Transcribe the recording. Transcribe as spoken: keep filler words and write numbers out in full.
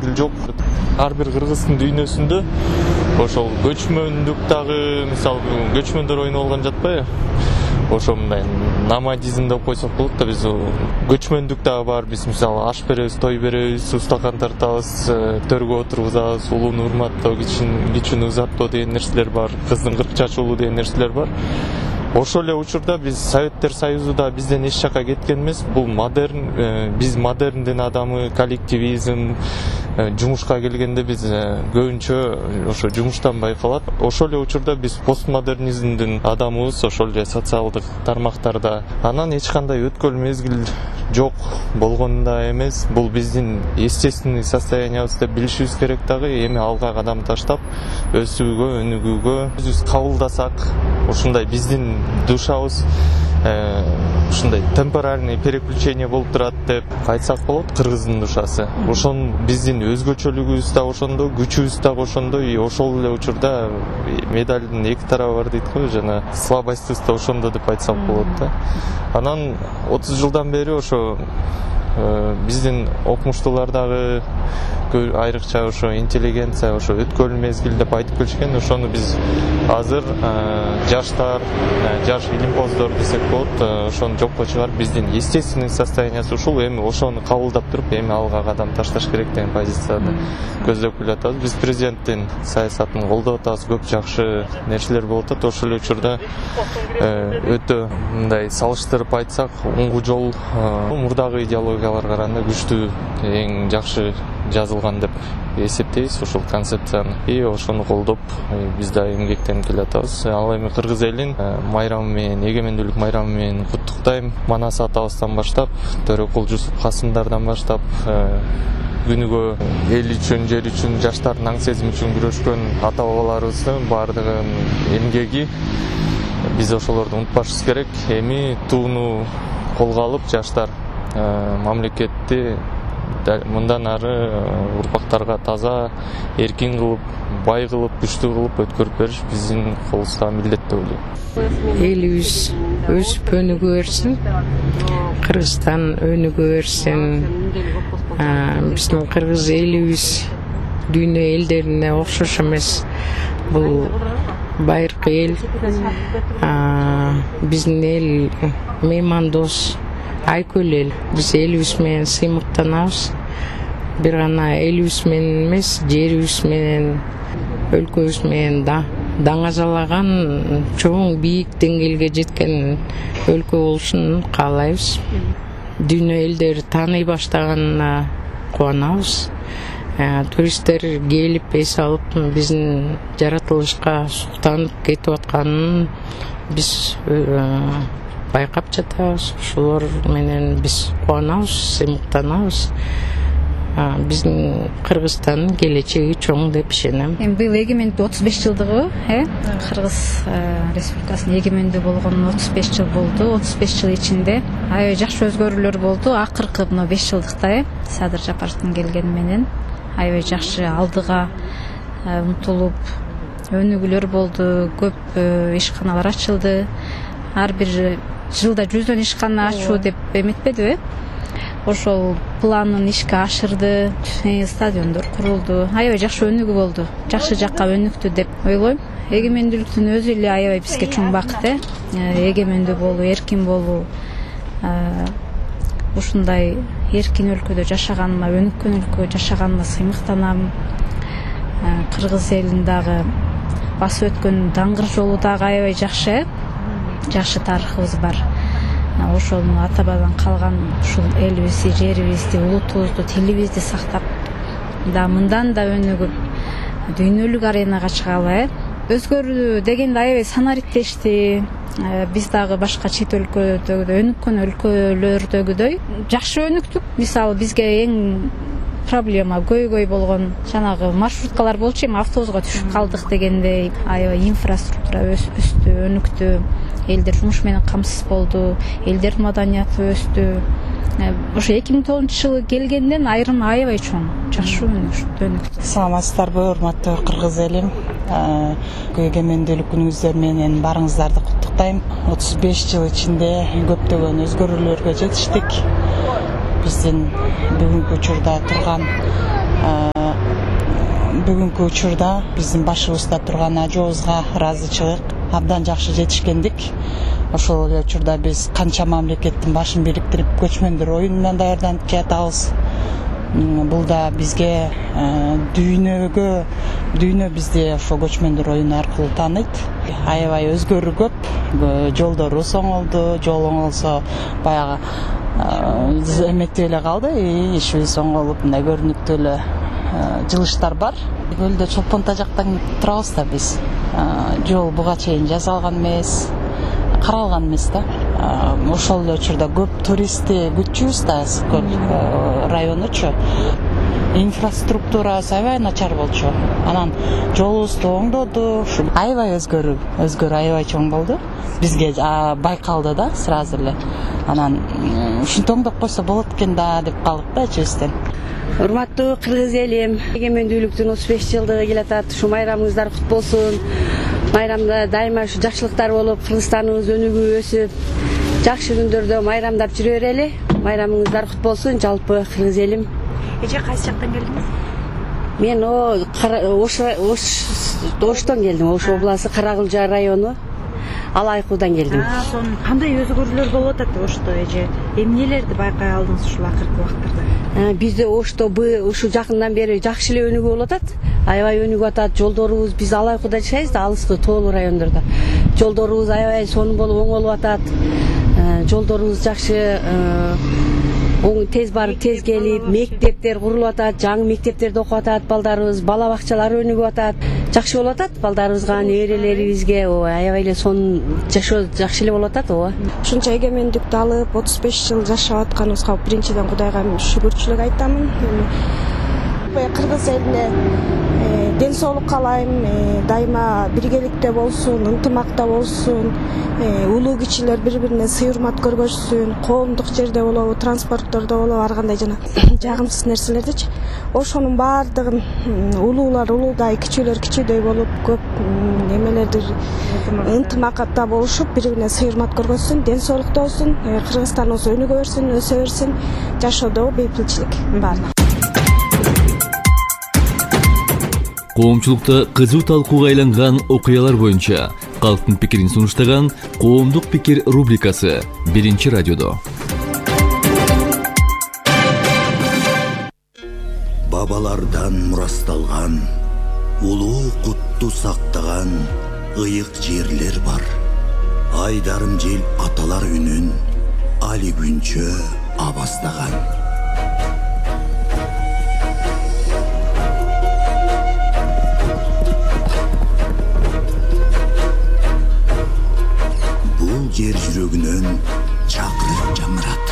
мезгил жок. Ар бир кыргыздын дүйнөсүндө ошол көчмөндүк дагы, мисалы көчмөндөр ойноп алган жатпайбы? Ошо мындай номадизм деп койсок болот да, биз көчмөндүк дагы бар. Биз мисалы аш беребиз, той беребиз, устакан тартабыз, төргө отургузабыз, улууну урматтоо, кичүүнү узаттоо деген нерселер бар. Кыздын кырк чачуулуу деген нерселер бар. Ошол эле учурда биз Советтер Союзу да бизден эч жакка кеткен эмес. Бул модерн, биз модерндин адамы, коллективизм, жумушка келгенде биз көбүнчө ошо жумуштан байкалат. Ошол эле учурда биз постмодернизмдин адамыбыз, ошол эле социалдык тармактарда. Анан эч кандай өткөл мезгил жок болгонда эмес. Бул биздин естественный состояниябыз деп билишибиз керек дагы. Эми алга кадам таштап, өсүүгө, өнүгүүгө өзүбүз кабылдасак, ушундай биздин душабыз ушундай темпоральный переключение болуп турат деп айтсак болот. Кыргыздын душасы ошон биздин өзгөчөлүгүбүз да ошондо, күчүбүз да ошондо. И ошол эле учурда медалдын эки тарабы бар дейт го, жана слабостьбыз да ошондо деп айтсак болот да. Анан отуз жылдан бери ошо биздин окумуштуулар дагы айрыкча ошо интеллигенция, ошо өткөл мезгил деп айтып келишкен. Ошону биз азыр жаштар, жаш илимпоздор десек болот, ошону жокко чыгарып, биздин естественный состояниясы ушул. Эми ошону кабылдап туруп, эми алга кадам ташташ керек деген позицияны көздөп келатабыз. Биз президенттин саясатын колдоп атабыз, көп жакшы нерселер болуп атат. Ошол эле учурда өтө мындай салыштырып айтсак, оңгу жол мурдагы идеологияларга караганда күчтүү, эң жакшы жазылган деп эсептейбиз ошол концепцияны. И ошону колдоп биз да эмгектенип келатабыз. Ал эми кыргыз элин майрамы менен, эгемендүүлүк майрамы менен куттуктайм. Манас атабыздан баштап, Төрөкул Жусуп Касымдардан баштап, күнүгө эл үчүн, жер үчүн, жаштардын аң сезими үчүн күрөшкөн ата бабаларыбыздын баардыгын эмгеги биз ошолорду унутпашыбыз керек. Эми тууну колго алып, жаштар мамлекетти мындан ары урпактарга таза, эркин кылып, бай кылып, күчтүү кылып өткөрүп бериш биздин колубузда милдет деп ойлойм. Элибиз өсүп өнүгө берсин, Кыргызстан өнүгө берсин. Биздин кыргыз элибиз дүйнө элдерине окшош эмес. Бул байыркы эл, биздин эл меймандос, айкөл эл. Биз элибиз менен сыймыктанабыз. Бир гана элибиз менен эмес, жерибиз менен, өлкөбүз менен да даңазалаган, чоң бийик деңгээлге жеткен өлкө болушун каалайбыз. Дүйнө элдери тааный баштаганына кубанабыз. Туристтер келип эс алып, биздин жаратылышка суктанып кетип атканын биз байкап жатабыз. Ошолор менен биз кубанабыз, сыймыктанабыз. Биздин Кыргызстандын келечеги чоң деп ишенем. Эми быйыл эгемендүү отуз беш жылдыгы, э? Кыргыз Республикасынын эгемендүү болгонуна отуз беш жыл болду. отуз беш жыл ичинде аябай жакшы өзгөрүүлөр болду. Акыркы мына беш жылдыкта, э? Садыр Жапаровдун келгени менен аябай жакшы алдыга умтулуп өнүгүүлөр болду. Көп ишканалар ачылды. Ар бир жылда жүздөн ишкана ачуу деп эметпедиби? Ошол планын ишке ашырды, стадиондор курулду. Аябай жакшы өнүгүү болду. Жакшы жакка өнүктү деп ойлойм. Эгемендүүлүктүн өзү эле аябай бизге чоң бакыт, э? Эгемендүү болуу, эркин болуу. Ушундай эркин өлкөдө жашаганыма, өнүккөн өлкөдө жашаганыма сыймыктанам. Кыргыз элин дагы басып өткөн даңгыр жолу дагы аябай жакшы, жакшы тарыхыбыз бар. Ошону ата бабадан калган ушул элибизди, жерибизди, улутубузду, тилибизди сактап, да мындан да өнүгүп, дүйнөлүк аренага чыгалы, э? Өзгөрүү дегенде аябай санариптешти. Биз дагы башка чет өлкөдөгүдөй, өнүккөн өлкөлөрдөгүдөй жакшы өнүктүк. Мисалы бизге эң проблема көйгөй болгон жанагы маршруткалар болчу, эми автобуска түшүп калдык дегендей. Аябай инфраструктура өстү, өнүктү. Элдер жумуш менен камсыз болду, элдердин маданияты өстү. Ошо эки миң тогузунчу жылы келгенден айрым аябай чоң жакшы өнүктү. Саламатсыздарбы, урматтуу кыргыз элим. Эгемендүүлүк күнүңүздөр менен барыңыздарды куттуктайм. отуз беш жыл ичинде көптөгөн өзгөрүүлөргө жетиштик. Биздин бүгүнкү учурда турган бүгүнкү учурда биздин башыбызда турган ажообузга ыраазычылык, абдан жакшы жетишкендик. Ошол эле учурда биз канча мамлекеттин башын бириктирип көчмөндөр оюнунан даярданып жатабыз. Бул да бизге дүйнөгө дүйнө бизди ошо көчмөндөр оюну аркылуу тааныйт. Аябай өзгөрүү көп, жолдорубуз оңолду, жол оңолсо баягы эметип эле калды, ишибиз оңолуп мындай көрүнүктүү эле жылыштар бар. Көлдө чолпон тажактан турабыз да биз. Жол буга чейин жасалган эмес, каралган эмес да. Ошол эле учурда көп туристти күтчүбүз да, Көл районучу. Инфраструктурасы аябай начар болчу. Анан жолубузду оңдоду. Аябай өзгөрүү, өзгөрүү аябай чоң болду. Бизге байкалды да сразу эле. Анан ушинтип оңдоп койсо болот экен да деп калдык да ичибизден. Урматтуу кыргыз элим, эгемендүүлүктүн отуз беш жылдыгы келатат. Ушу майрамыңыздар кут болсун. Майрамда дайыма ушу жакшылыктар болуп, Кыргызстаныбыз өнүгүп өсүп, жакшы күндөрдө майрамдап жүрө берели. Майрамыңыздар кут болсун, жалпы кыргыз элим. Эже кайсы жактан келдиңиз? Мен Ош Оштон келдим. Ош областы Каракылжа району Алайкуудан келдим. Сонун кандай өзгөрүүлөр болуп атат Ошто эже? Эмнелерди байкай алдыңыз ушул акыркы убактарда? Бизде Ошто ушу жакындан бери жакшы эле өнүгүп болуп атат. Аябай өнүгүп атат. Жолдорубуз, биз Алайкууда жашайбыз да, алыскы тоолуу райондордо. Жолдорубуз аябай сонун болуп оңолуп атат. Жолдорубуз жакшы, оң тез барып, тез келип, мектептер курулуп атат, жаңы мектептерде окуп атат балдарыбыз, бала бакчалар өнүгүп атат. Жакшы болуп атат балдарыбызга, неберелерибизге, аябай эле сонун жашоо жакшы эле болуп атат, ооба. Ушунча эгемендикти алып, отуз беш жыл жашап атканыбызга биринчиден Кудайга шүгүрчүлүк айтамын. Кыргыз элине ден соолук каалайм, дайыма биргеликте болсун, ынтымакта болсун, улуу кичилер бири-бирине сый урмат көргөзсүн, коомдук жерде болобу, транспорттордо болобу, ар кандай жана жагымсыз нерселердичи. Ошонун баардыгын улуулар улуудай, кичүүлөр кичүүдөй болуп, көп немелерди ынтымакта болушуп, бири-бирине сый урмат көргөзсүн, ден соолукта болсун, Кыргызстаныбыз өнүгө берсин, өсө берсин, жашоодо бейпилчилик баардыгы. Коомчулукта кызуу талкууга айланган окуялар боюнча калктын пикирин сунуштаган Коомдук пикир рубрикасы биринчи радиодо. Бабалардан мурасталган, улуу кутту сактаган ыйык жерлер бар. Айдарым жел аталар үнүн али күнчө абастаган. Жер жүрөгүнөн чакырып жамырат.